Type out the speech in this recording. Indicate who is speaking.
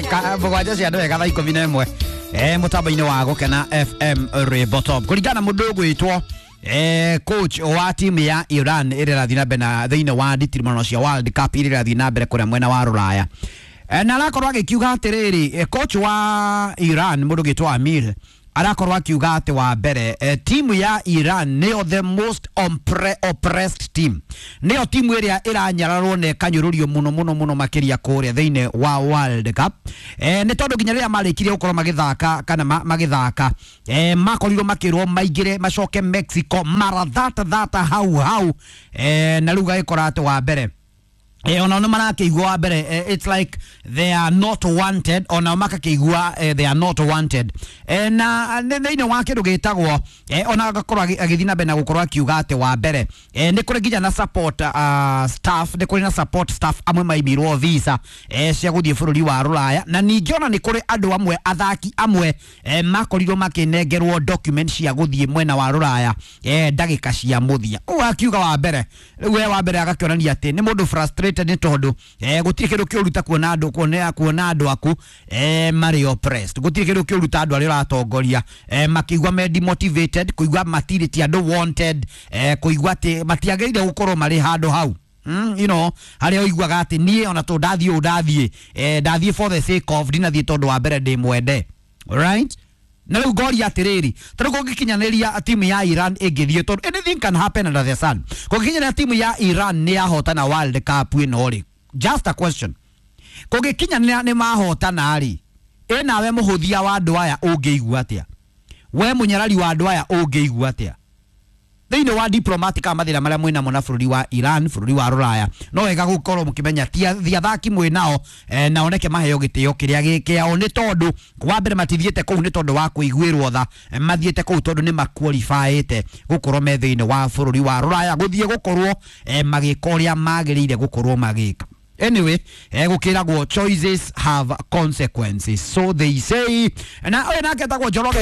Speaker 1: Ndagĩka 7 cia ndwega thaa 11 mũtambo-inĩ wa Gũkena FM Rwĩmbo Top kũringana na mũndũ ũgwĩtwo coach wa timu ya Iran ĩrĩa ĩrathiĩ na mbere na thĩinĩ wa nditimũrano cia World Cup iria ĩrathiĩ na mbere kũrĩa mwena wa Rũraya, na arakorwo agĩkiuga atĩrĩrĩ, coach wa Iran mũndũ ũgwĩtwo Amir arakorwo akiuga atĩ wa mbere, timu ya Iran nĩyo the most oppressed team, nĩyo timu ĩrĩa ĩranyararwo na ĩkanyũrũrio mũno mũno mũno makĩria kũrĩa thĩinĩ wa World Cup, nĩ tondũ nginya rĩrĩa marĩkirie gũkorwo magĩthaka kana magĩthaka, makorirwo makĩrwo maingĩre macoke Mexico mara thata thata hau hau, na rĩu gagĩkora atĩ wa mbere, onao nĩ marakĩigua wa mbere, it's like they are not wanted, onao makakĩigua they are not wanted, na thĩinĩ wa kĩndũ gĩtagwo, ona agakorwo agĩthiĩ na mbere na gũkorwo akiuga atĩ wa mbere, nĩ kũrĩ nginya na support staff, nĩ kũrĩ na support staff amwe maimirwo visa cia gũthiĩ bũrũri wa Rũraya, na ningĩ ona nĩ kũrĩ andũ amwe, athaki amwe, makorirwo makĩnengerwo document cia gũthiĩ mwena wa Rũraya ndagĩka cia mũthia. Ũguo akiuga wa mbere rĩu we wa mbere agakĩonania atĩ nĩ mũndũ frustrated nĩ tondũ gũtirĩ kĩndũ kĩũru ta kuona andũ kuona andũ aku marĩ oppressed, gũtirĩ kĩndũ kĩũru ta andũ arĩa ũratongoria makĩigua me demotivated, kũigua matirĩ ti andũ wanted, kũigua atĩ matiagĩrĩire gũkorwo marĩ handũ hau, harĩa ũiguaga atĩ niĩ ona tondũ ndathiĩ ũũ ndathiĩ, ndathiĩ for the sake of, ndinathiĩ tondũ wa mbere ndĩ mwende, right? Na rĩu ngoria atĩrĩrĩ, tondũ kũngĩkinyanĩria timu ya Iran ĩngĩthiĩ, tondũ anything can happen under the sun, kũngĩkinyanĩria timu ya Iran nĩ yahotana World Cup ĩno rĩ, just a question, kũngĩkinyanĩra nĩ mahotana rĩ, ĩ nawe mũhũthia wa andũ aya ũngĩigua atĩa? We mũnyarari wa andũ aya ũngĩigua atĩa thĩinĩ wa diplomatic kana mathĩna marĩa mwĩnamo na bũrũri wa Iran, bũrũri wa Rũraya? No wega gũkorwo mũkĩmenya ti athaki mwĩ nao, na oneke maheo gĩtĩo kĩrĩa gĩ kĩao, nĩ tondũ wa mbere matithiĩte kũu nĩ tondũ wa kũiguĩrwo tha, mathiĩte kũu tondũ nĩ maqualifyĩte gũkorwo me thĩinĩ wa bũrũri wa Rũraya gũthiĩ gũkorwo magĩka ũrĩa magĩrĩire gũkorwo magĩka. Anyway, gũkĩragwo choices have consequences, so they say. Na ũyũ nake etagwo Njoroge.